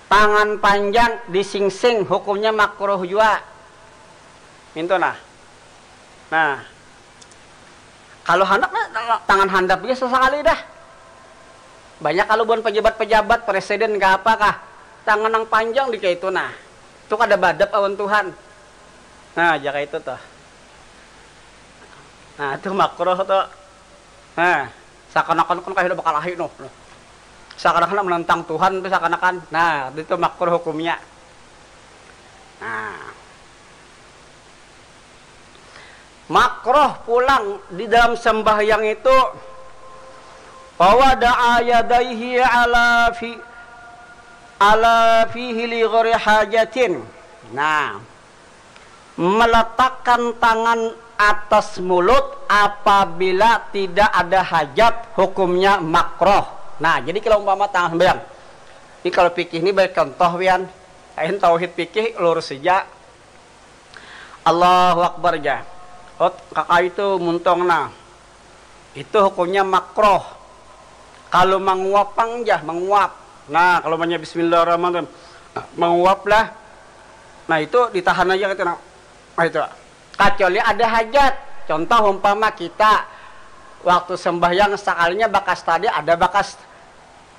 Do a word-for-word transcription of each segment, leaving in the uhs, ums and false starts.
Tangan panjang disingsing hukumnya makruh jua. Mintu nah. Nah, kalau handak nah, tangan handap gin sasakali dah. Banyak kalau buhan pejabat-pejabat, presiden kah apa kah, tangan nang panjang di kaitu nah. Tu kada badap awan Tuhan. Nah, jaka itu tuh. Nah, itu makruh tuh. Nah, seakan-akan kan kayak udah bakalahi noh. Seakan-akan menentang Tuhan tuh seakan-akan. Nah, itu makruh hukumnya. Nah. Makruh pulang di dalam sembahyang itu, wa wada'a yadaihi ala fi ala fihi li ghairi hajatin. Nah, meletakkan tangan atas mulut apabila tidak ada hajat, hukumnya makruh. Nah, jadi kalau umpama tangan sembahyang. Ini kalau fikih ini baik contoh wian. Lain tauhid fikih lurus saja. Allahu Akbar ja. Ot, kaka itu muntong nah. Itu hukumnya makruh. Kalau manguap pang ja, manguap. Nah, kalau banyak bismillahirrahmanirrahim. Manguap lah. Nah, itu ditahan aja gitu nah. Nah, itu. Kecuali ada hajat. Contoh umpama kita waktu sembahyang sekalinya bakas tadi ada bakas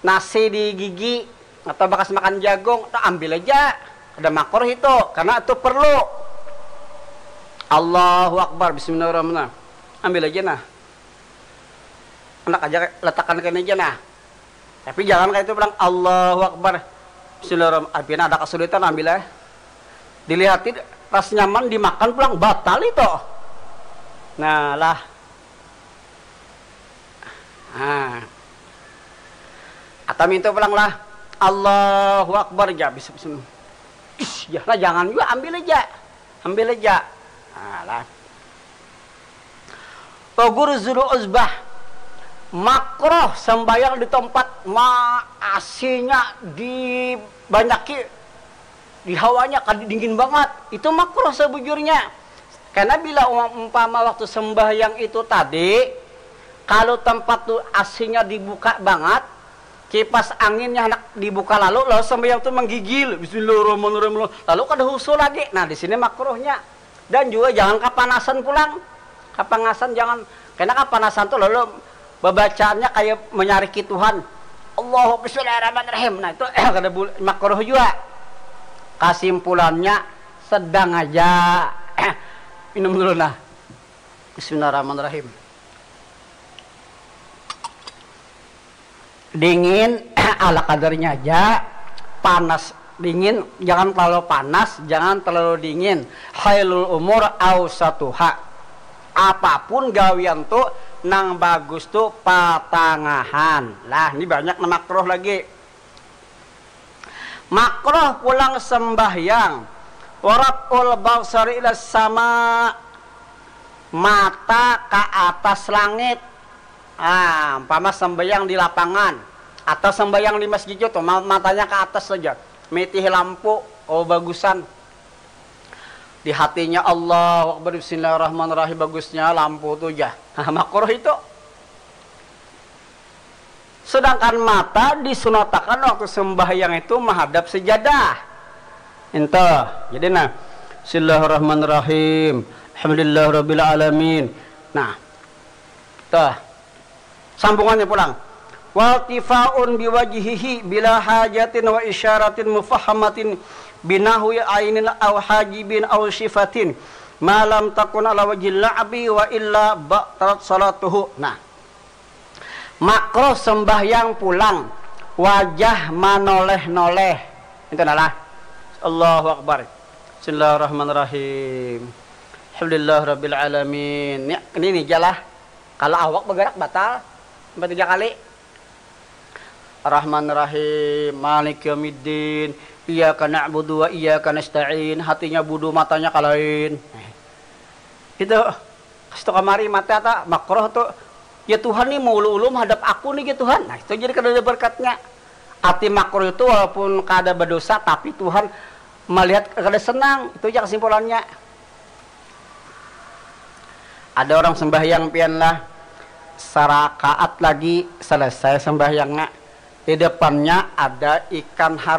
nasi di gigi atau bakas makan jagung, tuh ambil aja. Ada makruh itu, karena itu perlu. Allahu Akbar, bismillahirrahmanirrahim. Ambil aja nah. Anak aja letakkan kena aja nah. Tapi jangan kayak itu bilang Allahu Akbar. Bismillahirrahmanirrahim. Apabila ada kesulitan ambil aja. Dilihatin ras nyaman dimakan pulang batal itu. Nah lah. Nah. Atau minta pulang lah. Allahu Akbar ja. Bisa, bisa. Ish, ya lah jangan juga ambil aja. Ambil aja. Nah, lah. Togur zulu uzbah. Makroh sembahyang di tempat ma asinya dibanyaki di hawanya kan dingin banget. Itu makroh sebujurnya. Karena bila umpama waktu sembahyang itu tadi, kalau tempat tu asinya dibuka banget, kipas anginnya hendak dibuka lalu, lalu sembahyang tu menggigil, Bismillahirrahmanirrahim, lalu kada husu lagi. Nah, di sini makruhnya. Dan juga jangan kapanasan pulang. Kapanasan jangan, karena kapanasan tu lalu babacaannya kayak menyariki Tuhan. Allahu Bismillahirrahmanirrahim. Nah, itu kada makruh juga. Kasimpulannya sedang aja. Minum dulu nah. Bismillahirrahmanirrahim. Dingin ala kadarnya aja, panas dingin, jangan terlalu panas, jangan terlalu dingin. Khairul umur ausatuha. Apapun gawian tu nang bagus tu patangahan. Lah, ini banyak nang makruh lagi. Makruh pulang sembahyang. Waraf'ul basari ila sama, mata ke atas langit. Ah, umpama sembahyang di lapangan atau sembahyang di masjid itu, matanya ke atas saja, mitih lampu, oh bagusan. Di hatinya Allah Akbar, Bismillahirrahmanirrahim, bagusnya lampu tu ja. Makruh itu. Sedangkan mata disunatakan waktu sembahyang itu menghadap sejadah. Itu. Jadi nah, Bismillahirrahmanirrahim. Alhamdulillahirabbil alamin. Nah. Tuh. Sambungannya pulang. Waltifaun biwajhihi bila hajatin wa isyaratin mufahamatin binahwi ainin au hajibin au sifatin malam takun ala wajhil la'bi wa illa batalat salatuhu. Nah, makruh sembahyang pulang wajah manoleh-noleh. Itu nalah. Allahu Akbar. Bismillahirrahmanirrahim. Alhamdulillah Rabbil Alamin. Ya, ini nih jalah. Kalau awak bergerak batal sampai tiga kali. Rahman Rahim, Malik Yaumiddin, Iyyaka na'budu wa iyyaka nasta'in, hatinya budu matanya kalain. Itu. Pas tu kamari mata ta makroh tu, ya Tuhan ni maulu-ulu mahadap aku ni ya Tuhan. Nah, itu jadi kada ada berkatnya. Ati makroh itu walaupun kada badosa, tapi Tuhan malihat kada senang. Itu aja kesimpulannya. Ada orang sembahyang pian lah, sarakaat lagi selesai sembahyangnya. Di depannya ada ikan haru.